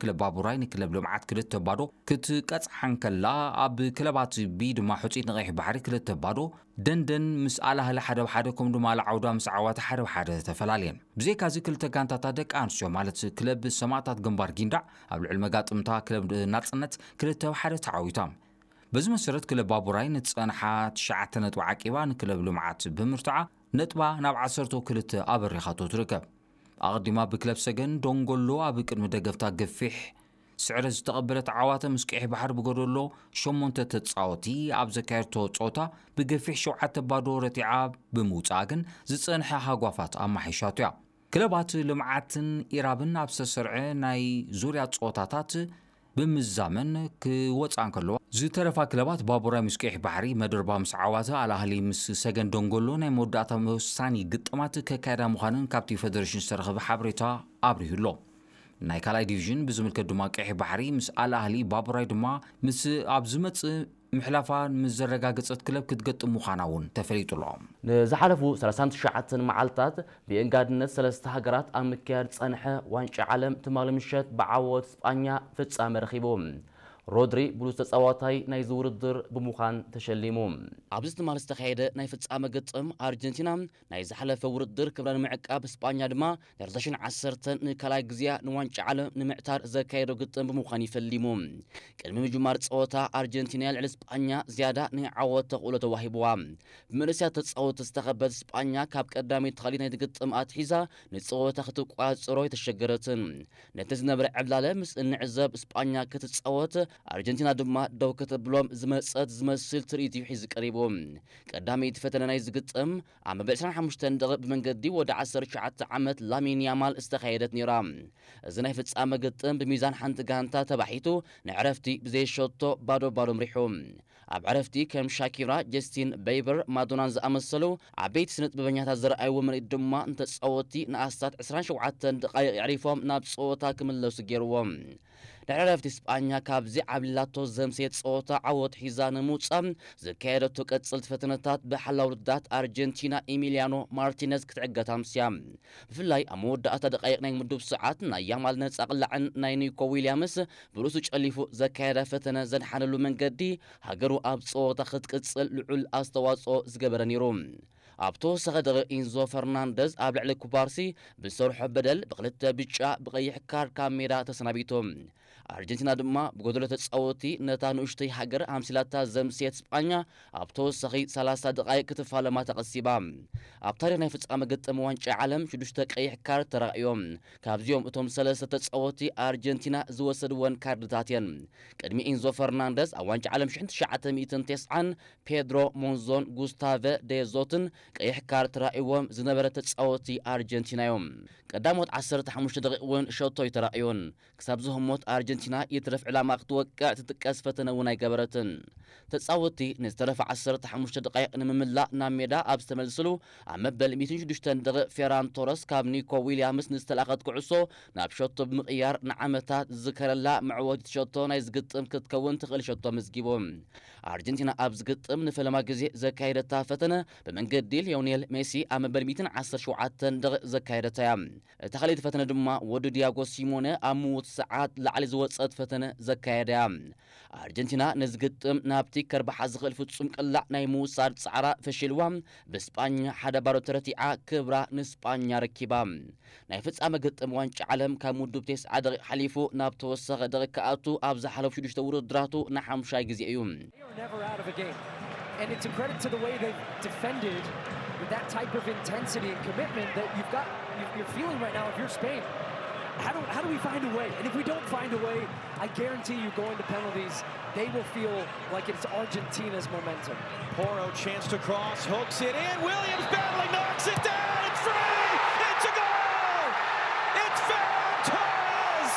ክለብ ባቡራይ ንክለብ ልምዓት ክልተ ባዶ ክትቀጽዓ እንከላ፣ ኣብ ክለባት ቢ ድማ ሕጹይት ንቀይሕ ባሕሪ ክልተ ባዶ፣ ደንደን ምስ ኣልኣህሊ ሓደ ብሓደ፣ ከምኡ ድማ ኣልዓውዳ ምስ ዓዋተ ሓደ ብሓደ ተፈላልየን። ብዘይካዚ ክልተ ጋንታታት ደቂ ኣንስትዮ ማለት ክለብ ሰማእታት ግንባር ጊንዳዕ ኣብ ልዕሊ መጋጥምታ ክለብ ናጽነት ክልተ ብሓደ ተዓዊታ። በዚ መሰረት ክለብ ባቡራይ ንዝጸንሓ ትሽዓተ ነጥቢ ዓቂባ ንክለብ ልምዓት ብምርትዓ ነጥባ ናብ ዓሰርተ ክልተ ኣበሪኻቶ ትርከብ። ኣቐዲማ ብክለብ ሰገን ዶንጎሎ ኣብ ቅድሚ ደገፍታ ገፊሕ ስዕረት ዝተቐበለት ዓዋተ ምስ ቀይሕ ባሕሪ ብጎደሎ ሸሞንተ ተጻወቲ ኣብ ዘካየድቶ ጸወታ ብገፊሕ ሸውዓተ ባዶ ረቲዓ ብምውጻኣ ግን ዝጸንሐ ሃጓፋት ኣማሒሻቶ እያ። ክለባት ልምዓትን ኢራብን ኣብ ዝተሰርዐ ናይ ዙርያ ጸወታታት ብምዛመን ክወጻ እንከለዋ፣ ዝተረፋ ክለባት ባቡራይ ምስ ቀይሕ ባሕሪ፣ መደርባ ምስ ዓዋተ፣ ኣልኣህሊ ምስ ሰገን ደንጎሎ ናይ መወዳእታ መወሳኒ ግጥማት ከካየዳ ምዃነን ካብቲ ፌደሬሽን ዝተረኸበ ሓበሬታ ኣብሪሁ ኣሎ። ናይ ካልኣይ ዲቪዥን ብዝምልከት ድማ ቀይሕ ባሕሪ ምስ ኣልኣህሊ፣ ባቡራይ ድማ ምስ ኣብ ዝመጽእ ምሕላፋ ምስ ዘረጋገጸት ክለብ ክትገጥም ምዃና እውን ተፈሊጡ ኣሎ። ንዝሓለፉ ሰላሳን ትሽዓተን መዓልታት ብእንጋድነት ሰለስተ ሃገራት ኣብ ምክያድ ዝጸንሐ ዋንጫ ዓለም ትማሊ ምሸት ብዓወት ስጳኛ ፍጻመ ረኺቡ። ሮድሪ ብሉጽ ተጻዋታይ ናይዚ ውድድር ብምዃን ተሸሊሙ። ኣብዚ ትማሊ ዝተኻየደ ናይ ፍጻመ ግጥም ኣርጀንቲና ናይ ዝሓለፈ ውድድር ክብራ ንምዕቃብ፣ ስጳኛ ድማ ንክልተ ሽሕን ዓሰርተን ንካልኣይ ግዜኣ ንዋንጫ ዓለም ንምዕታር ዘካየዶ ግጥም ብምዃን ይፈሊሙ። ቅድሚ ምጅማር ጸወታ ኣርጀንቲና ልዕሊ ስጳኛ ዝያዳ ናይ ዓወት ተኽእሎ ተዋሂብዋ። ብመንእሰያት ተጻወትቲ ዝተኸበት ስጳኛ ካብ ቀዳመይቲ ክፋል ናይቲ ግጥም ኣትሒዛ ንጸወታ ክትቋጽሮ ኣይተሸገረትን። ነቲ ዝነበረ ዕብላለ ምስ እንዕዘብ ስጳኛ ክትጻወት ኣርጀንቲና ድማ ደው ከተብሎም ዝመጸት ዝመስል ትርኢት እዩ ሒዙ ቀሪቡ። ቀዳመይቲ ፈተነ ናይዚ ግጥም ኣብ መበል ዕስራን ሓሙሽተን ደቂቕ ብመንገዲ ወዲ ዓሰርተ ትሽዓተ ዓመት ላሚን ያማል ዝተኻየደት ነይራ። እዚ ናይ ፍጻመ ግጥም ብሚዛን ሓንቲ ጋንታ ተባሒቱ ንዕረፍቲ ብዘይሸቶ ባዶ ባዶ ምሪሑ። ኣብ ዕረፍቲ ከም ሻኪራ፣ ጀስቲን በይበር፣ ማዶናን ዝኣመሰሉ ዓበይቲ ስነ ጥበበኛታት ዘርኣይዎ ምርኢት ድማ ንተጻወትቲ ንኣስታት ዕስራን ሸውዓተን ደቓይቕ የዕሪፎም ናብ ጸወታ ክምለሱ ገይርዎም። ድሕሪ ዕረፍቲ ስጳኛ ካብዚ ዓብሊላቶ ዘምሰየት ጸወታ ዓወት ሒዛ ንምውጻእ ዘካየደቶ ቀጽልቲ ፈተነታት ብሓላው ውድዳት ኣርጀንቲና ኢሚልያኖ ማርቲነዝ ክትዕገት ኣምስያ። ብፍላይ ኣብ መወዳእታ ደቃይቕ ናይ ምዱብ ሰዓት ናይ ያማል ነጻ ቅላዕን ናይ ኒኮ ዊልያምስ ብርእሱ ጨሊፉ ዘካየዳ ፈተነ ዘድሓነሉ መንገዲ ሃገሩ ኣብ ጸወታ ክትቅጽል ልዑል ኣስተዋጽኦ ዝገበረ ነይሩ። ኣብ ተወሳኺ ደቂቕ ኢንዞ ፈርናንደዝ ኣብ ልዕሊ ኩባርሲ ብዝሰርሖ በደል ብክልተ ብጫ ብቐይሕ ካርድ ካብ ሜዳ ተሰናቢቱ። ኣርጀንቲና ድማ ብጎደሎ ተጻወቲ ነታ ንኡሽተይ ሃገር ኣምሲላታ ዘምስየት ስጳኛ ኣብ ተወሳኺ ሰላሳ ደቓይቕ ክትፋለማ ተቐሲባ። ኣብ ታሪኽ ናይ ፍጻመ ግጥም ዋንጫ ዓለም ሽዱሽተ ቀይሕ ካርድ ተራእዮም። ካብዚኦም እቶም ሰለስተ ተጻወቲ ኣርጀንቲና ዝወሰድወን ካርድታት እየን። ቅድሚ ኢንዞ ፈርናንደዝ ኣብ ዋንጫ ዓለም ሽሕን ትሽዓተ ሚእትን ተስዓን ፔድሮ ሞንዞን ጉስታቨ ደዞትን ቀይሕ ካርድ ተራእይዎም ዝነበረ ተጻወቲ ኣርጀንቲና እዮም። ቀዳሞት ዓሰርተ ሓሙሽተ ደቂቕ እውን ሸቶ ኣይተራእዮን። ክሳብ ዝህሞት ኣርጀንቲና ይትረፍ ዕላማ ክትወቅዕ ትጥቀስ ፈተነ እውን ኣይገበረትን። ተጻወትቲ ንዝተረፈ ዓሰርተ ሓሙሽተ ደቃይቕ ንምምላእ ናብ ሜዳ ኣብ ዝተመልስሉ ኣብ መበል ሚእትን ሽዱሽተን ደቂቕ ፌራን ቶረስ ካብ ኒኮ ዊልያምስ ንዝተላእኸት ኩዕሶ ናብ ሸቶ ብምቕያር ንዓመታት ዝዝከረላ መዕወቲት ሸቶ ናይ ዝግጥም ክትከውን ትኽእል ሸቶ ኣመዝጊቡ። ኣርጀንቲና ኣብ ዝግጥም ንፈለማ ግዜ ዘካየደታ ፈተነ ብመንገዲ ሊዮኔል ሜሲ ኣብ መበል ሚእትን ዓሰርተ ሸውዓተን ደቂቕ ዘካየደታ እያ። እታ ካልኣይቲ ፈተነ ድማ ወዲ ዲያጎ ሲሞነ ኣብ ምዉት ሰዓት ላዕሊ ዝወጸት ፈተነ ዘካየደ እያ። ኣርጀንቲና ነዚ ግጥም ናብቲ ከርብሓ ዝኽእል ፍጹም ቅላዕ ናይ ምውሳድ ጻዕራ ፈሺልዋ ብስጳኛ ሓደ ባዶ ተረቲዓ ክብራ ንስጳኛ ረኪባ። ናይ ፍጻመ ግጥም ዋንጫ ዓለም ካብ ምዱብ ተስዓ ደቂቕ ሓሊፉ ናብ ተወሳኺ ደቂቕ ክኣቱ ኣብ ዝሓለፉ ሽዱሽተ ውድድራቱ ንሓሙሻይ ግዜ እዩ። They are never out of a game. And it's a credit to the way they've defended with that type of intensity and commitment that you've got, you- you're feeling right now if you're Spain. How do, how do we find a way? And if we don't find a way, I guarantee you going to penalties, they will feel like it's Argentina's momentum. Poro chance to cross, hooks it in. Williams battling, knocks it down. It's free. It's a goal. It's Ferran Torres.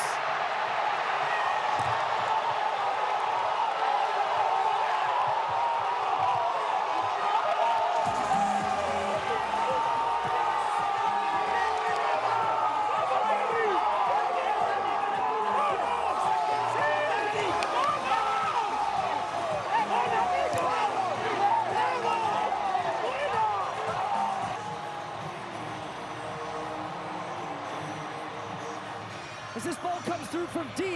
As this ball comes through from deep,